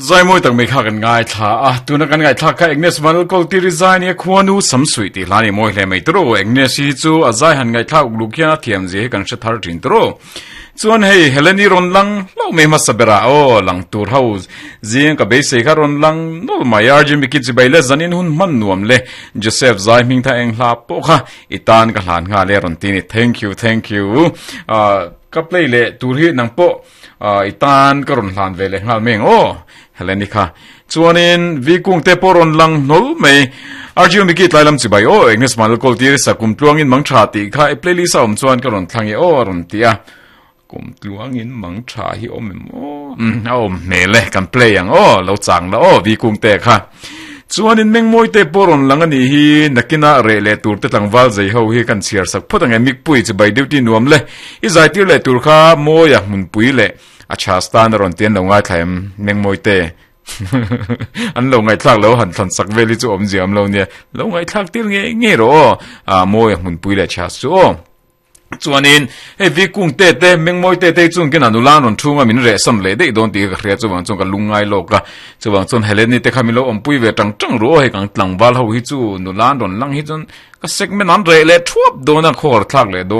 Zai mawi tak mai kha kan ngaithla a, tuna kan ngaihthlak kha Agnes Vanlalkawl tiri zai nia khuanu Samsuih tih hla ni mawi hle mai tawrh aw. Agnes hi chu a zai han ngaihthlak uk luk hian a thiam zia hi kan hre thar thin tawrh aw. Chuan hei Heleni rawn lang hlauh mai hmasa berah aw lang tur ho zing ka beisei kha rawn lang nawlh mai RG Mickey chibai le zanin hun hman nuam le Joseph zai hming tha eng hla pawh kha i tan ka hlan nghal e rawn ti ni thank you thank you ka play leh tur hi nang pawh i tan ka rawn hlan ve leh nghal mai ang aw Heleni kha chuanin vi kung te pawh rawn lang hnawlh mai RG Mickey tlai lam chibai aw Agnes Malkawl tir sakum tluangin mang tha tih kha i playlist a awm chuan ka rawn thlang e aw a rawn ti a kum tluangin mang tha hi awm em aw a awm hmel e kan play ang aw lo chang la aw vi kung te kha Chuanin Mengmawi te pawh rawn lang a nih hi, nakinah reh leh tur te tlangval zei ho hi kan chhiar sak phawt ang e, Mikpui chibai duty nuam le, i zaitir leh tur kha Mawia hmunpui leh a chhas tan a rawn ti an lo ngaithla em Mengmawi te an lo ngaihthlak lo han thlan sak vel hi chu awmzia awm lo nia, lo ngaihthlak tir ngei ngei rawh aw, ah Mawia hmunpui leh chhas chu aw. Chuanin hei vi kung te te mengmawi te te chung kina nula an rawn thunga min reh sam leh daih dawn tih ka hria chuvang chuan ka lungngai lawk a chuvang chuan Heleni te kha min lo awmpui ve tang tang ru aw hei kang tlangval ho hi chu nula an rawn lang hi chuan ka segment an reh leh thuap dawn a khawhar thlak leh dawn.